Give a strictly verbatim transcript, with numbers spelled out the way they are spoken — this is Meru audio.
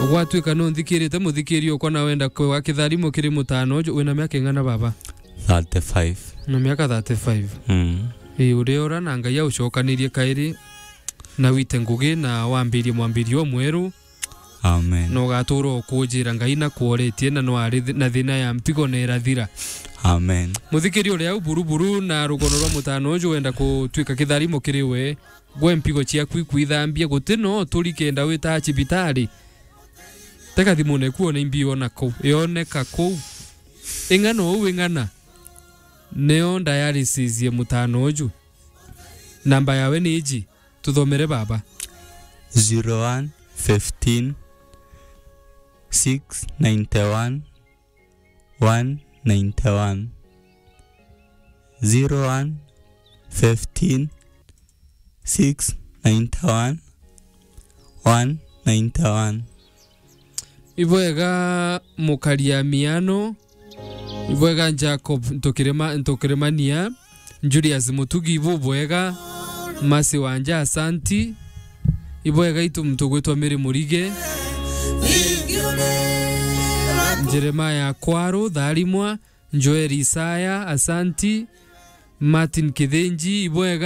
Gwatuika no nthikirite muthikiri okwa na wenda kwewa kitharimo kiri mutano uju, wina miaka ing'ana baba? Thirty-five. Na miaka thirty-five. Mm. Ii, uriora na Ngai aucokanirie kairi, na wite ngugi na wambirie mwambirio mweru. Amen. Na ugatura ukujira Ngai na kworetie na no ari thi-, na thina ya mpigo na irathira. Amen. Muthikiri uria au buruburu na rugono rwa mutano uju wenda kutuika kitharimo kiri we, gwe mpigo ciaku ikwithambia, guti no turi kenda wita cibitari. Teka thimune kuona imbi ona kuu, yoneka kuu. Ing'ana uu ing'ana. Nio dialysis ye mutano uju. Namba yawe ni iji. Tuthomere baba. Zero one fifteen six ninety one one ninety one. Zero one fifteen six ninety one one ninety one. Ibwega mukari ya miano. Ibwega Jacob Ntukirima-, Ntukirimania. Julius Mutugi, ibubwega. Masi Wanja, asanti. Ibwega itu muntu ugwitwa Mary Murige. Jeremiah Kwaru, Tharimwa. Joel Isaya, asanti. Martin Kithinji, ibwega.